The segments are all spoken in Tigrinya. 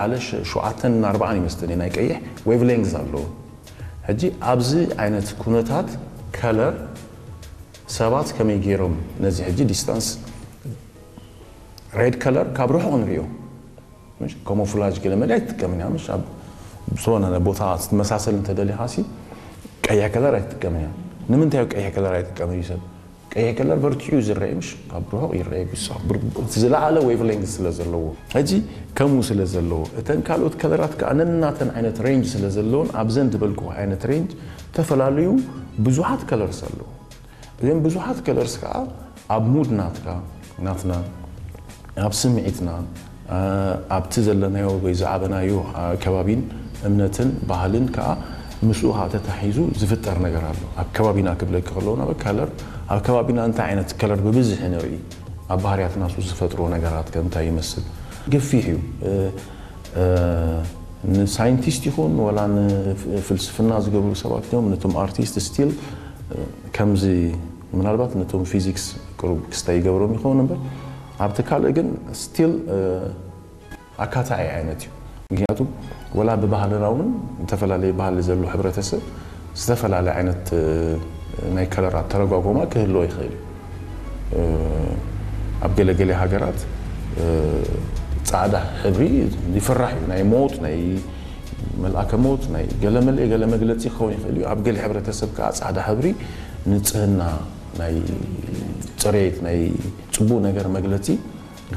ሓደ ሸ- ሸውዓተን ኣርባዓን ይመስለኒ ናይ ቀይሕ wavelength ኣለዎ። ሕጂ ኣብዚ ዓይነት ኩነታት color ሰባት ከመይ ገይሮም ነዚ ሕጂ distance red color ካብ ርሑቕ ንሪኦ camouflage ገለ መለ ኣይትጥቀምን እያ ምሽ ኣብ ዝኾነ ቦታ ክትመሳሰል እንተደሊኻ ሲ ቀይሕ color ኣይትጥቀምን እያ። ንምንታይ ቀይሕ color ኣይጥቀምን እዩ ሰብ ቀይሕ color በርቲዑ ዝረአ ምሽ ካብ ርሑቕ ይረአ ብሳ ዝለዓለ wavelength ስለ ዘለዎ ሕጂ ከምኡ ስለ ዘለዎ እተን ካልኦት colorኣት ከዓ ነናተን ዓይነት range ስለ ዘለውን ኣብዘን ዝበልኩ ዓይነት range ዝተፈላለዩ ብዙሓት colors ኣለዉ። እዞም ብዙሓት colors ከዓ ኣብ mood ናትካ ናትና ኣብ ስምዒትና ኣብቲ ዘለናዮ ወይ ዝዓበናዮ ከባቢን እምነትን ባህልን ከዓ ምስኡ ከዓ ተታሒዙ ዝፍጠር ነገር ኣሎ። ኣብ ከባቢና ክብለኪ ከለዉ ናብ color ኣብ ከባቢና እንታይ ዓይነት color ብብዝሒ ንርኢ ኣብ ባህርያትና እሱ ዝፈጥሮ ነገራት ከምንታይ ይመስል ገፊሕ እዩ። ንሳይንቲስት ይኹን ወላ ንፍልስፍና ዝገብሩ ሰባት እዮም ነቶም artist still ከምዚ ምናልባት ነቶም physics ቅሩብ ክስታይ ይገብሮም ይኸውን እምበር ኣብቲ ካልእ ግን still ኣካታዒ ዓይነት እዩ። ምክንያቱ ወላ ብባህልና እውን ዝተፈላለየ ባህሊ ዘሎ ሕብረተሰብ ዝተፈላለየ ዓይነት ናይ colorኣት ተረጓጎማ ክህልዎ ይኽእል እዩ። ኣብ ገለገለ ሃገራት ፃዕዳ ሕብሪ ይፍራሕ እዩ። ናይ ሞት ናይ መልኣከ ሞት ናይ ገለመለ ገለ መግለፂ ክኸውን ይኽእል እዩ። ኣብ ገለ ሕብረተሰብ ከዓ ፃዕዳ ሕብሪ ንፅህና ናይ ፅሬት ናይ ፅቡቅ ነገር መግለፂ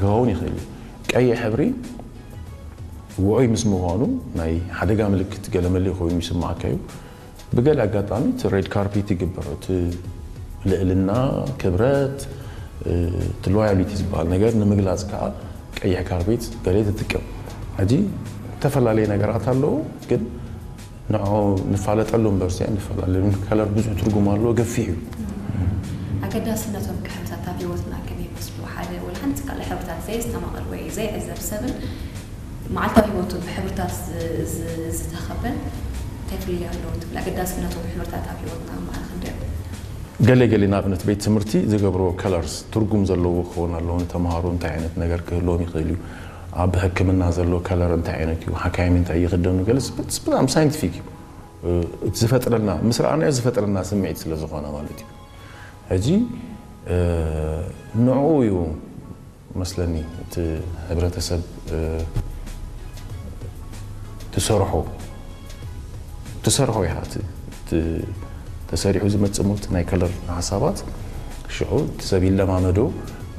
ክኸውን ይኽእል እዩ። ቀይሕ ሕብሪ ውዑይ ምስ ምዃኑ ናይ ሓደጋ ምልክት ገለመለ ኮይኑ ይስማዓካ እዩ። ብገለ ኣጋጣሚ እቲ red carpet ይግበር እቲ ልእልና ክብረት እቲ loyalty ዝበሃል ነገር ንምግላፅ ከዓ ቀይሕ carpet ገለ ትጥቀም። ሕጂ ዝተፈላለየ ነገራት ኣለዉ ግን ንዑ ንፋለጠሉ እምበር ሲ ንፈላለዩ color ብዙሕ ትርጉም ኣለዎ ገፊሕ እዩ። ኣገዳስነቶም ከ ሕብርታት ኣብ ህይወትና ከመይ ይመስሉ? ሓደ ወላ ሓንቲ ካልእ ሕብርታት ዘየስተማቕር ወይ ዘይዕዘብ ሰብን መዓልታዊ ህይወቱ ብሕብርታት ዝተኸበን እንታይ ፍልልይ ኣለዎ ትብል? ኣገዳስነቶም ሕብርታት ኣብ ህይወትና መዓል ክንደይ? ገለ ገለ ንኣብነት ቤት ትምህርቲ ዝገብርዎ colors ትርጉም ዘለዎ ክኸውን ኣለዎ። ንተምሃሮ እንታይ ዓይነት ነገር ክህልዎም ይኽእል እዩ? ኣብ ሕክምና ዘሎ color እንታይ ዓይነት እዩ? ሓካይም እንታይ ይኽደኑ? ገለ ብጣዕሚ scientific እዩ። እቲ ዝፈጥረልና ምስ ረኣናዮ ዝፈጥረልና ስምዒት ስለ ዝኾነ ማለት እዩ። ሕጂ ንዕኡ እዩ መስለኒ እቲ ሕብረተሰብ ትሰርሖ ትሰርሖ ኢኻ እቲ ተሰሪሑ ዝመፅእ ሞት ናይ color ሓሳባት ሽዑ እቲ ሰብ ይለማመዶ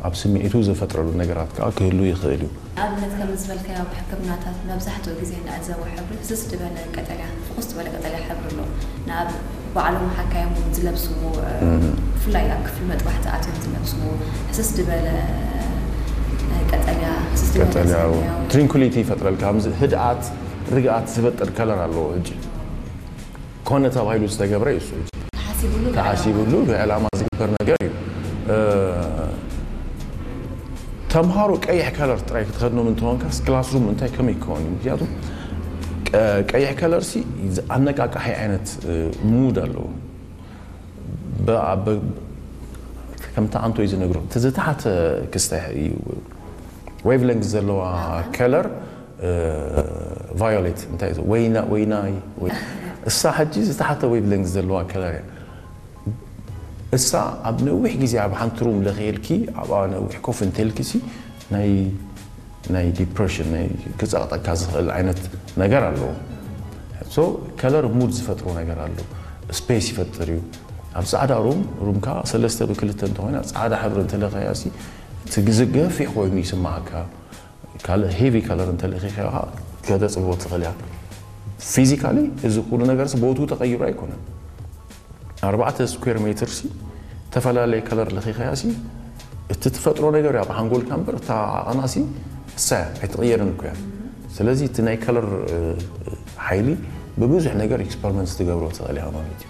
ኣብ ስምዒቱ ዝፈጥረሉ ነገራት ከዓ ክህሉ ይኽእል እዩ። ንኣብነት ከም ዝበልካዮ ኣብ ሕክምናታት መብዛሕትኡ ግዜ እንዕዘቦ ሕብሪ ህስስ ዝበለ ቀጠልያ ፍኹስ ዝበለ ቀጠልያ ሕብሪ ኣሎ። ንኣብ ባዕሎም ሓካዮም እውን ዝለብስዎ ብፍላይ ኣብ ክፍሊ መጥባሕቲ ኣትዮም ዝለብስዎ ህስስ ዝበለ ቀጠልያ ህስስ ዝበለ ቀጠልያ ሰማያዊ። Tranquility ይፈጥረልካ። ከምዚ ህድኣት ርግኣት ዝፈጥር color ኣለዎ። ሕጂ ኮነ ተባሂሉ ዝተገብረ እዩ እሱ። ሕጂ ተሓሲብሉ ተሓሲብሉ ብዕላማ ዝግበር ነገር እዩ። ተምሃሮ ቀይሕ color ጥራይ ክትኸድኖም እንተኾንካ classroom እንታይ ከመይ ክኸውን እዩ? ምክንያቱ ቀይሕ color ሲ ኣነቃቃሒ ዓይነት mood ኣለዎ። ከምቲ ኣንቶይ ዝነግሮ እቲ ዝተሓተ ክስታይ እዩ wavelength ዘለዋ color violet እንታይ እዩ ወይና ወይናይ እሳ ሕጂ ዝተሓተ wavelength ዘለዋ color እያ። እሳ ኣብ ነዊሕ ግዜ ኣብ ሓንቲ room ለኺልኪ ኣብኣ ነዊሕ ኮፍ እንተልኪ ሲ ናይ ናይ depression ናይ ክጸቕጠካ ዝኽእል ዓይነት ነገር ኣለዎ። So color mood ዝፈጥሮ ነገር ኣሎ። Space ይፈጥር እዩ። ኣብ ጻዕዳ room roomካ ሰለስተ ብክልተ እንተኾይና ጻዕዳ ሕብሪ እንተለኸያ ሲ እቲ ግዜ ገፊሕ ኮይኑ ይስማዓካ። ካልእ heavy color እንተለኺኻ ከተጽብቦ ትኽእል እያ። Physically እዚ ኩሉ ነገር ቦቱ ተቐይሩ ኣይኮነን። ኣርባዕተ square meter ሲ ዝተፈላለየ color ለኺኻያ ሲ እቲ ትፈጥሮ ነገር እያ ብሓንጎልካ እምበር እታ ዓቐና ሲ እሳ እያ ኣይትቕየርን እኮ እያ። ስለዚ እቲ ናይ color ሓይሊ ብብዙሕ ነገር experiment ትገብሮ ትኽእል እያ ማለት እዩ።